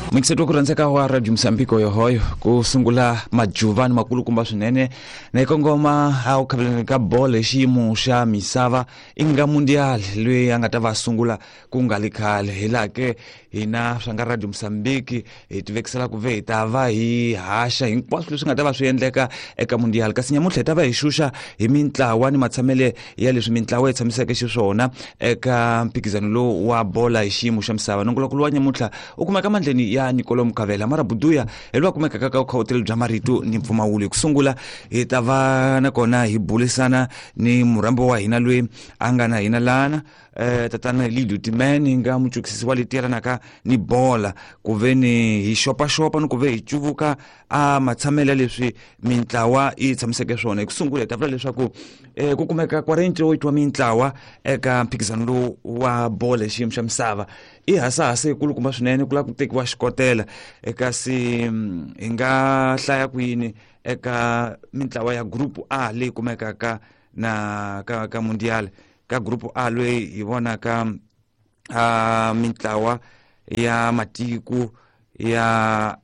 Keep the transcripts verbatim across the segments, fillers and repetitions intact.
Muyingiseti wa ku rhandzeka wa Radio Mozambique yohoyo ku sungula majuvani makulukumba swinene na yi kongoma a ku khaveleni ka bolo hi xiyimo xa misava i nga mundial loyi a nga ta va sungula ku nga li khale hi laha ke hina swa nga Radio Mozambique hi tivekisela ku ve hi ta va hi haxa hinkwaswo leswi nga ta va swi endleka eka mundial kasi nyamuntlha hi ta va hi xuxa hi mintlawa ni matshamele ya leswi mintlawa yi tshamiseke xiswona eka mphikizano lowu wa bola hi xiyimo xa misava. Nongolokulu wa nyamuntlha u kumeka mandleni ya Nicolo Mukavela mara buduya hi loyi a kumekaka ka vukhawuteli bya marito ni mpfumawulo. Hi ku sungula hi ta va nakona hi bulisana ni murhambi wa hina loyi a nga na hina lana eh tatana Lido Timan hi nga muchukisisi wa leti yelanaka ni bola ku ve ni hi xopaxopa ni ku ve hi cuvuka a matshamelo ya leswi mintlawa yi tshamiseke swona. Hi ku sungula hi ta vula leswaku eh ku kumeka quarante-oito wa mintlawa eka mphikizano lowu wa bola hi xiyimo xa misava i hasahasa yikulukumba swinene ku lava ku tekiwa xikotela kasi hi nga hlaya kwini eka mintlawa ya group A leyi kumekaka na ka ka mundial. Ka group A loyi hi vonaka a mintlawa ya matiko ya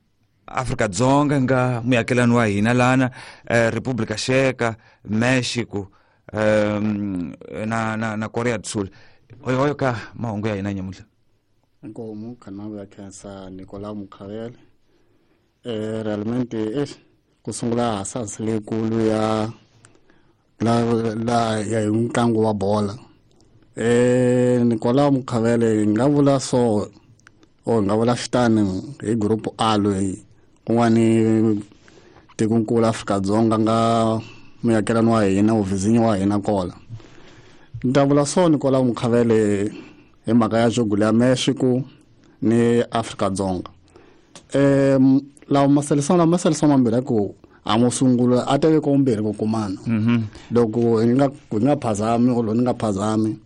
Afrika Dzonga nga muakelani wa hina lana eh, Republika Tsheka, Mexico um, na na na Korea do Sul. Oyo ka mahungu ya hina nyamuntlha. Inkomu khanavu ya khensa Nicolau Mukhavele. Eh realmente eh ku sungula hasahasa leyikulu ya la la ya ntlangu wa bola. Eh Nicolau Mukhavele hi nga vula so or hi nga vula xitani hi group A loyi kun'wani tikonkulu Afrika-Dzonga nga muakelani wa hina uvizinyo wa hina kola. Ni ta vula so Nicolau Mukhavele hi mhaka ya jogo ya Mexico ni Afrika-Dzonga. Eh lawa maselisano lama maselisano mambirhi ku a mo sungula a teve ko mbirhi ku kumana. Loko hi nga hi nga phazami or ni nga phazami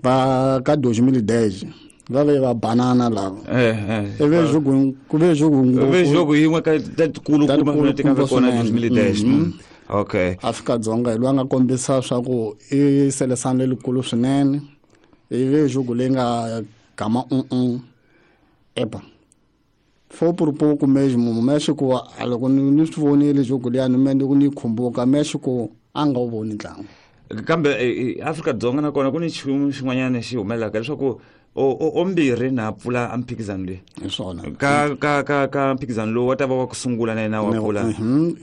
va ka dois mil e dez va ve va banana lava. Eh eh E ve jogo ku ve jogo ve jogo yin'we ka tatikulu kuma ti ka kona dois mil e dez. Okay. Afrika-Dzonga hi loyi a nga kombisa swa ku i selesano lelikulu swinene. I ve jogo leyi nga gama um epa foi por pouco mesmo. O México loko ni swi vonile jogo liya ni me ni khumbuka México a nga wu voni ntlangu. Kambe Afrika-Dzonga nakona ku ni nchumu xin'wanyana xi humelelaka leswaku o o mbirhi na pfula a mphikizano leyi. Hi swona. Ka ka ka ka mphikizano lowu wa ta va wa ku sungula na yena wa pfula.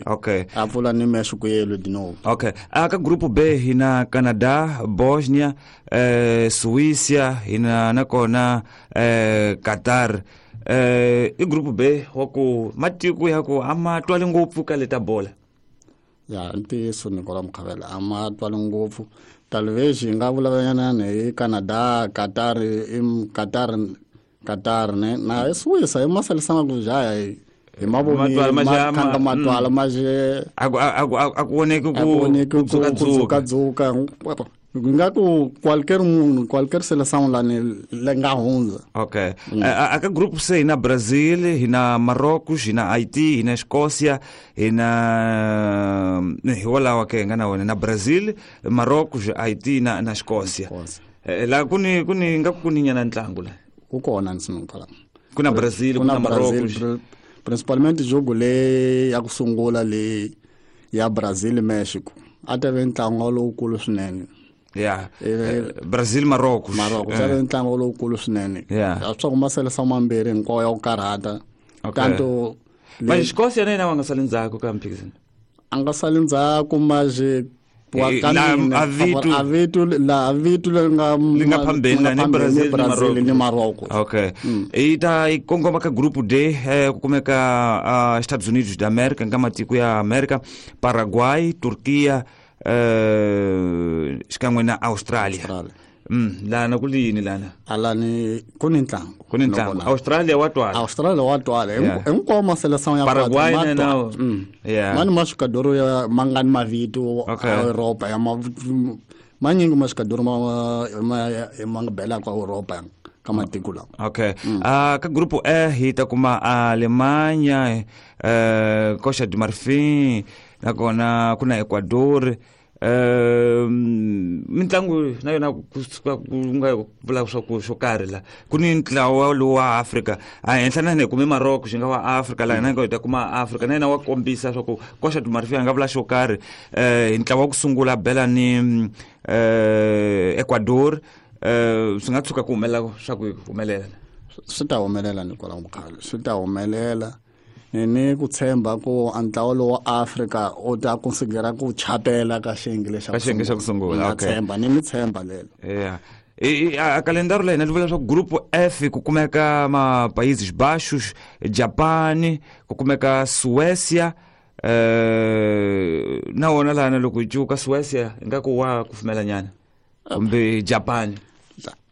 Okay. A pfula ni Mexico yelo de novo. Okay. A ka group B hi na Canada, Bosnia, eh Suíça, hi na nakona eh Qatar. Eh i group B wa ku matiko ya ku a ma twali ngopfu ka leta bola. Ya ntiyiso Nicolau Mukhavele a ma twali ngopfu. Talvez hi nga vulavulanyana hi Canada, Qatar, Qatar, Qatar ne na Suíça hi maselisana ku jaya hi mavoni ma matwala ma je a ku a ku voneki ku ku dzuka nga ku qualquer munhu qualquer seleção la ni le nga hundza. Okay. A ka group C hi na Brazil, hi na Marrocos, hi na Haiti, hi na Escócia, hi na hi walawa ke nga na wona na Brazil, Marrocos, Haiti na na Escócia. La ku ni ku ni nga ku ni nyana ntlangu la. Ku kona nsinukala. Ku na Brazil, ku na Marrocos. Principalmente jogo le ya ku sungula le ya Brazil Mexico. A ta ve ntlangu lowukulu swinene. Yeah. Brazil Marrocos. Marrocos a ve ntlangu lowukulu swinene. Yeah. Swa ku maselesa mambirhi hinkwawo ya ku karhata. Tanto ma Escócia na yena wa nga sali ndzhaku ka mphikizano. A nga sali ndzhaku maje wa ka a vitu la vitu le nga li nga phambeni ni Brazil Brazil ni Marrocos. Okay. I ta yi kongoma ka group D eh, ku kumeka Estados Unidos da América nga matiko ya America, Paraguay, Turquia eh xikan'we na Australia. Mm lana ku lini lana? Alani ku ni ntlangu. Ku ni ntlangu. Australia wa twala. Australia wa twala. Hinkwawo maseleção ya Paraguay na na. Yeah. Mani masukadoro ya mangani mavito a Europa ya manyingi masukadoro ma ma nga bela kwa Europa ka matiko lawa. Okay. Ah ka group E hi ta kuma Alemanha, eh Costa de Marfim, nakona ku na Ecuador, Um mintlangu na yona ku suka ku nga vula swa ku xo karhi la ku ni ntlawa lowu wa Afrika a henhla na hina hi kume Morocco xi nga wa Afrika laha hina hi ta kuma Afrika na yena wa kombisa swa ku Costa do Marfil a nga vula xo karhi eh hi ntlawa wa ku sungula bela ni eh Ecuador eh swi nga tshuka ku humelela swa ku humelela swi ta humelela Nicolau Mukhale swi ta humelela ni ku tshemba ku ntlawa lowu wa Afrika u ta considera ku chapela ka xiyenge lexa ka xiyenge xa ku sungula okay tshemba ni mi tshemba lelo yeah a kalendaro la hina li vula leswaku group F ku kumeka ma Países Baixos, Japan, ku kumeka Suécia eh na wona lana loko hi cuka Suécia ingaku wa kufumela nyana kumbe Japan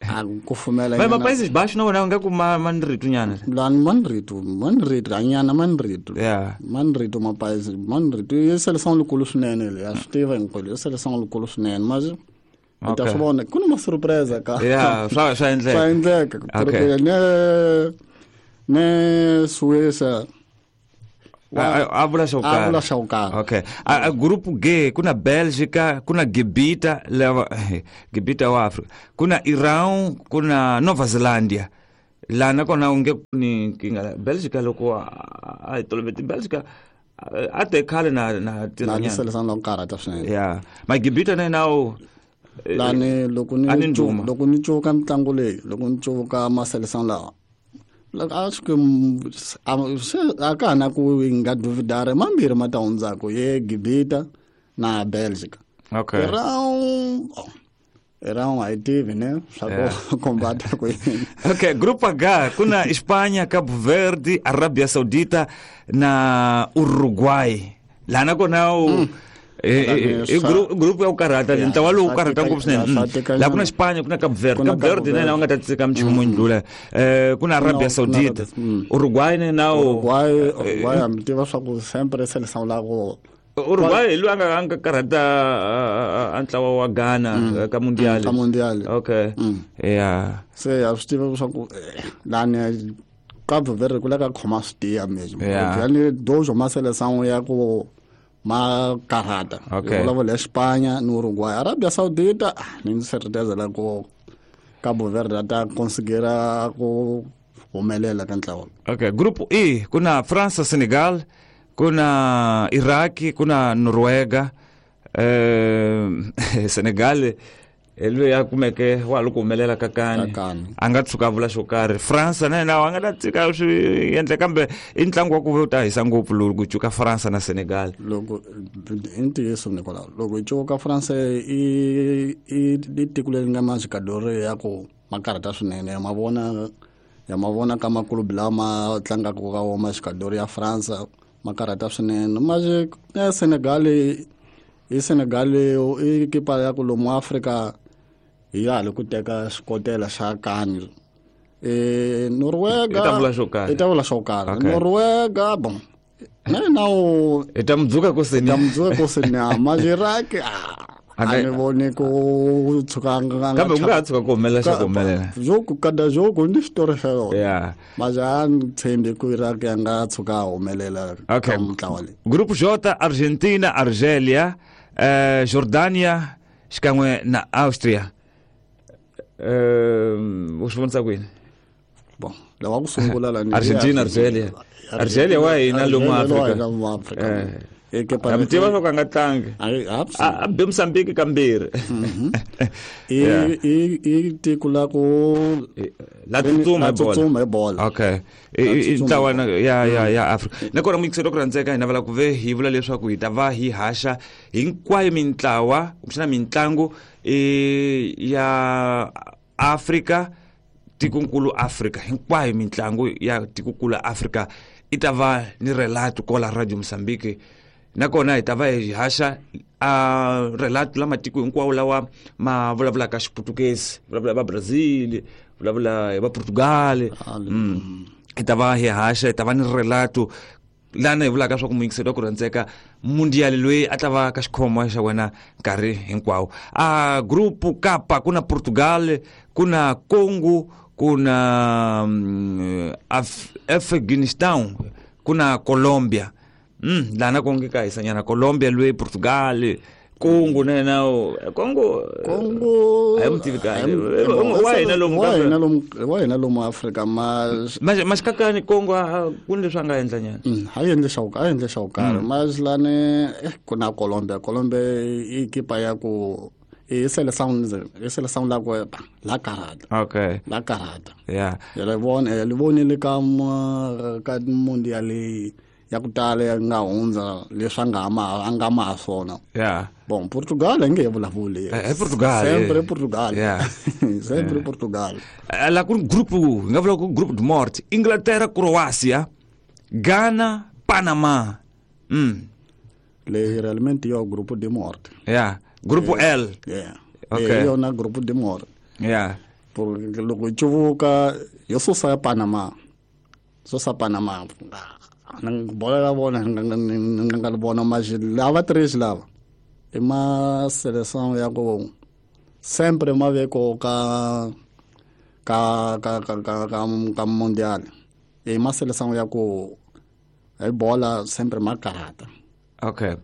a kufumela nyana ma Países Baixos na wona ingaku ma manritu nyana lani manritu manritu anyana manritu yeah manritu ma Países manritu i seleção likulu swinene le ya swi tiva hinkwelo i seleção likulu swinene mas u ta swi vona ku na ma surpresa ka yeah swa swa endleka swa endleka okay ne ne Suécia a vula xo karhi a vula xo karhi okay a group G ku na Bélgica ku na Gibita lava Gibita wa Afrika ku na Iran ku na Nova Zelândia lana kona u nge ni nkingha Bélgica loko a hi toloveti Bélgica a te khale na na tirha na seleção la karata swinene yeah ma Gibita na yena u lani loko ni loko ni cuka mitlangu leyi loko ni cuka ma seleção lawa acho que a ka na ku nga duvidare mambirhi ma ta hundzaka ye Gibita na Bélgica okay Iran Iran a yi tivi ne swa ku kombata ku yini okay group H ku na Espanha, Cabo Verde, Arabia Saudita na Uruguay lana kona u i group ya ku karhata ntlawa lowu karhata ngopfu swinene laha ku na Espanya ku na Cabo Verde Cabo Verde na yena va nga ta tsika minchumu ndlula eh ku na Arabia Saudita Uruguay na yena Uruguay Uruguay a mi tiva swa ku sempre seleção la ku Uruguay hi loyi a nga a nga karhata a ntlawa wa Ghana ka Mundial ka Mundial okay yeah se a swi tiva swa ku lani Cabo Verde ku la ka khoma swi tiya mesmo yani dojo ma seleção ya ku ma karata okay. Vulavula Espanha ni Uruguay Arabia Saudita ni certeza la ku Cabo Verde ta considera ku humelela ka ntlawa okay group E ku na França, Senegal ku na Iraq ku na Noruega eh Senegal loyi a kumeke wa loko humelela ka kani a nga tshuka a vula xo karhi França na yena a nga ta tshika swi endla kambe i ntlangu wa ku ve u ta hisa ngopfu lowu ku cuka França na Senegal loko i ntiyiso Nicolau loko hi cuka França i i i tiko leri nga majogador ya ku ma karhata swinene ya ma vona ya ma vona ka makulubu lama tlangaka ka wona majogador ya França ma karhata swinene mas ya Senegal i Senegal i kipa ya ku lomu Afrika hi ya le ku teka xikotela xa kani eh Noruega i ta vula xo karhi i ta vula xo karhi Noruega bon na na u i ta mudzuka ku seni ta mudzuka ku seni ma Iraq a ni voni ku tshuka nga kambe u nga ha tshuka ku humelela xa ku humelela jogo kada jogo ni xitori xa yona yeah mas a ni tshembi ku Iraq ya nga tshuka a humelela okay ka mintlawa leyi group J Argentina, Argelia, eh Jordania xikan'we na Austria eh u swi vonisa kwini bon lawa ku sungula la ni Argentina, Argelia Argelia wa hina lomu Afrika Afrika eh mi tiva swo ka nga tlangi a be Mozambique kambirhi i i i tiko la ku la tsutsuma tsutsuma hi bola okay i ntlawa ya ya ya Afrika nakona muyingiseri ku rhandzeka hi navela ku ve hi vula leswaku hi ta va hi haxa hinkwayo mintlawa kumbexana mintlangu ya Afrika tikonkulu Afrika hinkwayo mintlangu ya tikonkulu Afrika i ta va ni relato kola Radio Mozambique nakona hi ta va hi haxa a relato la matiko hinkwawo lawa ma vulavulaka Xiputukezi vulavula va Brazil vulavula hi va Portugal hi ta va hi haxa hi ta va ni relato lana hi vulaka swa ku muyingiseri wa ku rhandzeka mundial loyi a ta va ka xikhomo xa wena nkarhi hinkwawo a group Kapa ku na Portugal ku na Congo ku na Afghanistan ku na Colombia mm lana ku nge ka hisanyana Colombia loyi Portugal Kongo na yena Kongo Kongo a yi mu tivi kahle wa hina lomu wa hina lomu wa hina lomu Afrika ma maxikakani Kongo ku ni leswi a nga endla nyana a yi endle xa a yi endle xa ku karhi mazilani ku na Colombia Colombia i ekipa ya ku i seleção i seleção la ku la karata okay la karata yeah ya le vona ya le vonile ka ka mundial ya ku tala ya nga hundza leswi a nga ma a nga ma swona yeah bon Portugal a nge vulavuli eh Portugal sempre Portugal yeah sempre Portugal la ku grupo nga vula ku grupo de morte Inglaterra Croácia Ghana Panama mm le realmente yo grupo de morte yeah grupo L yeah okay yo na grupo de morte yeah porque loko cuvuka yo susa ya Panama susa Panama bola la vona ni nga vona mas lava três lava i ma seleção ya ku sempre ma ve ko ka ka ka ka ka ka ka mundial i ma seleção ya ku hi bola sempre ma karata okay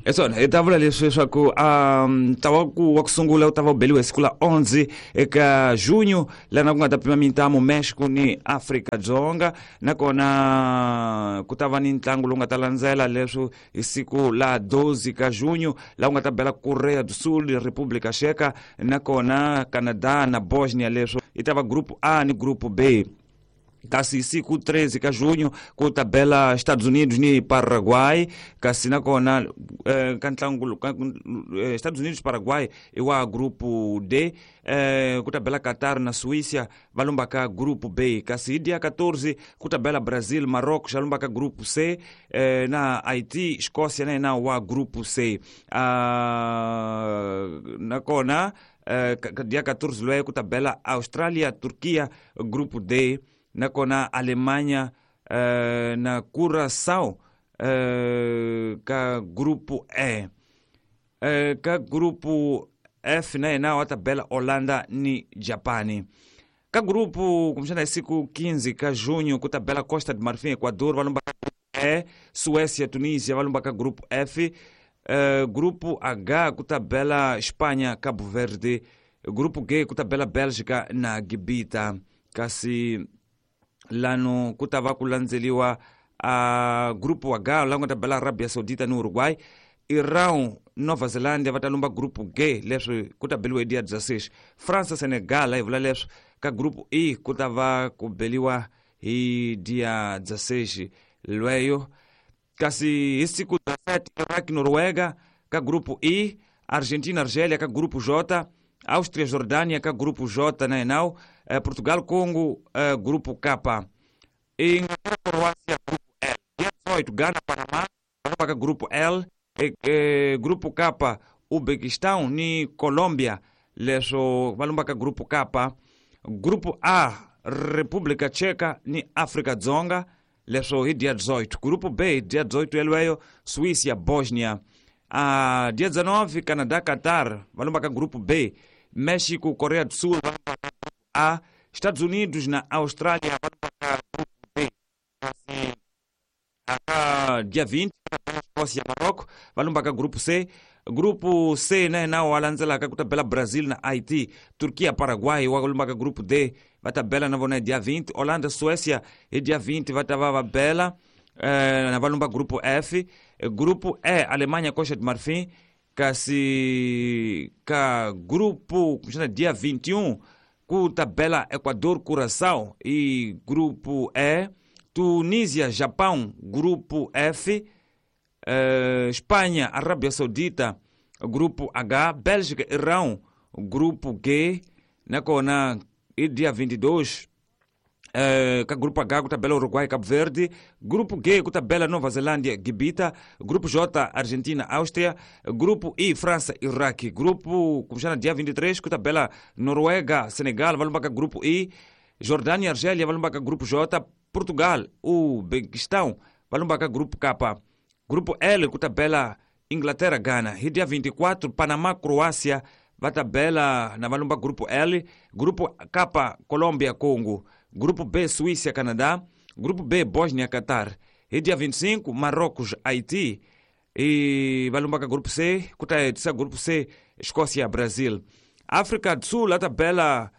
eso hi ta vula leswi leswaku um ta wa ku wa ku sungula u ta va u beliwe siku la onze eka junho lana ku nga ta pima mintamu Mexico ni Afrika Dzonga nakona ku ta va ni ntlangu lowu nga ta landzela leswo hi siku la doze ka junho laha ku nga ta bela Korea do Sul República Checa nakona Canada na Bosnia leswo i ta va grupo A ni grupo B kasi siku treze ka junho ku ta bela Estados Unidos ni Paraguay kasi nakona eh, ka ntlangu ka, eh, Estados Unidos Paraguay i wa grupo D eh, ku ta bela Qatar na Suíça va lumba ka grupo B kasi hi dia quatorze ku ta bela Brazil Marrocos va lumba ka grupo C eh, na Haiti Escócia na yena wa grupo C ah, nakona eh, dia quatorze lweyo ku ta bela Australia Turquia grupo D nakona Alemanha eh, na Curaçao eh, ka grupo E eh, ka grupo F na yena wa ta bela Holanda ni Japani ka grupo kumbexana hi siku quinze ka junho ku ta bela Costa de Marfim Equador va lumba ka E Suécia Tunísia va lumba ka grupo F eh, grupo H ku ta bela Espanha Cabo Verde grupo G ku ta bela Bélgica na Gibita kasi lano ku ta va ku landzeliwa a grupo H la nga ta bela Arabia Saudita ni Uruguay Irão Nova Zelândia va ta lumba grupo G leswi ku ta beliwa hi dia dezesseis França Senegal hi vula leswi ka grupo E ku ta va ku beliwa hi dia dezesseis lweyo kasi hi siku dezessete Iraq Noruega ka grupo E Argentina Argélia ka grupo J Áustria Jordânia ka grupo J na enau eh, Portugal Congo eh, grupo K Inglaterra Croácia grupo L dia dezoito Ghana Panamá ka grupo L eh, eh, grupo K Uzbequistão ni Colômbia leswo va lumba ka grupo K grupo A República Checa ni África Dzonga leswo hi dia dezoito grupo B dia dezoito yelweyo Suíça Bósnia a dia dezenove Canadá Qatar va lumba ka grupo B México Coreia do Sul va lumba ka grupo A Estados Unidos na Austrália va lumba ka grupo B kasi aka dia vinte Escócia Marrocos va lumba ka grupo C grupo C na yena wa landzelaka ku ta bela Brazil na Haiti Turquia Paraguay wa lumba ka grupo D va ta bela na vona hi dia vinte Holanda Suécia hi dia vinte va ta va va bela eh, na va lumba grupo F grupo E Alemanha Costa de Marfim kasi ka grupo kumbexana dia vinte e um ku ta bela Equador Curaçao e grupo E Tunísia Japão grupo F eh, Espanha Arábia Saudita grupo H Bélgica Irão grupo G nakona i dia vinte e dois eh, ka grupo H ku ta bela Uruguai Cabo Verde grupo G ku ta bela Nova Zelândia Gibita grupo J Argentina Áustria grupo I França Iraque grupo kumbexana dia vinte e três ku ta bela Noruega Senegal va lumba ka grupo I Jordânia Argélia va lumba ka grupo J Portugal Uzbequistão va lumba ka grupo K grupo L ku ta bela Inglaterra Ghana hi dia vinte e quatro Panamá Croácia va ta bela na va lumba grupo L grupo K Colômbia Congo grupo B Suíça Canadá grupo B Bósnia Qatar hi dia vinte e cinco Marrocos Haiti I va lumba ka group C, ku ta hetisa group C Escócia Brazil. África do Sul a tabela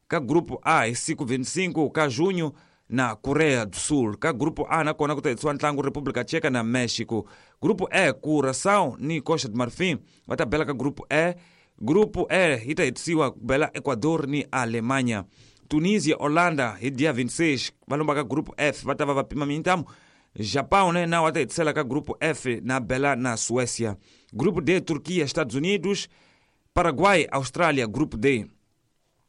ka grupo A hi siku vinte e cinco ka junho na Coreia do Sul. Ka grupo A nakona ku ta hetisiwa ntlangu República Tcheca na México. Grupo E, Curaçao ni Costa de Marfim va ta bela ka grupo E. Grupo E yi ta hetisiwa ku bela Ecuador ni Alemanha. Tunisia, Holanda hi dia vinte e seis va lomba ka grupo F, va ta va va pima mintamu. Japão, né, na va ta hetisela ka grupo F na bela na Suécia. Grupo D, Turquia, Estados Unidos, Paraguai, Austrália, grupo D.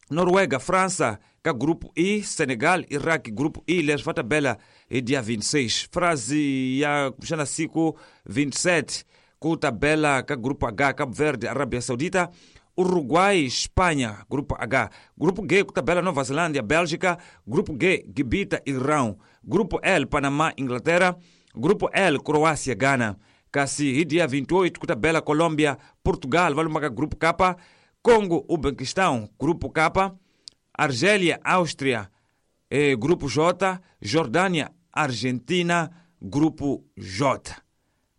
Noruega, França, ka grupo I, Senegal, Iraque, grupo I, leswi va ta bela hi dia vinte e seis. Frase ya kumbexana siku vinte e sete ku ta bela ka grupo H, Cabo Verde, Arábia Saudita, Uruguai, Espanha, grupo H. Grupo G ku ta bela Nova Zelândia, Bélgica, grupo G, Gibita, Irão. Grupo L, Panamá, Inglaterra, grupo L, Croácia, Ghana. Kasi hi dia vinte e oito ku ta bela Colômbia, Portugal, va lumba ka grupo K, Congo, Uzbequistão, grupo K, Argélia, Áustria, eh, grupo J, Jordânia, Argentina, grupo J.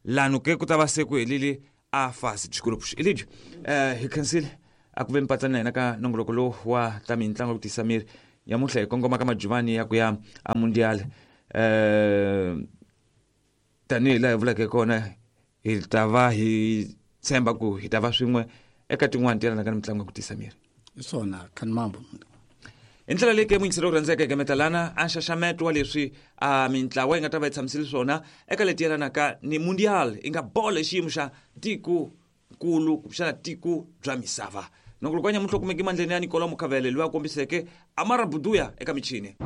Lá no que ku ta va se ku helile a fase dos grupos. Elidio, eh, hi khensile a ku ve mpatsana na hina ka nongoloko lowu wa ta mitlangu ku tisa miri nyamuntlha hi kongoma ka majuvani ya ku ya a mundial. eh tanihi laha hi vuleke kona, hi ta va hi tshemba ku hi ta va swin'we eka tin'wani ti yelanaka ni mitlangu ya ku tisa miri. Hi swona, khani mambo. Hi ndlela leyi ke muyingiseri ku rhandzeka eka metalana a nxaxameto wa leswi a mintlawa yi nga ta va yi tshamisile swona eka leti yelanaka ni mundial, yi nga bolo hi xiyimo xa tiko nkulu kumbexana tiko bya misava. Nongoloko wa nyamuntlha u kumeke mandleni ya Nicola Mukhavele, loyi a kombiseke Amara Buduya eka michini.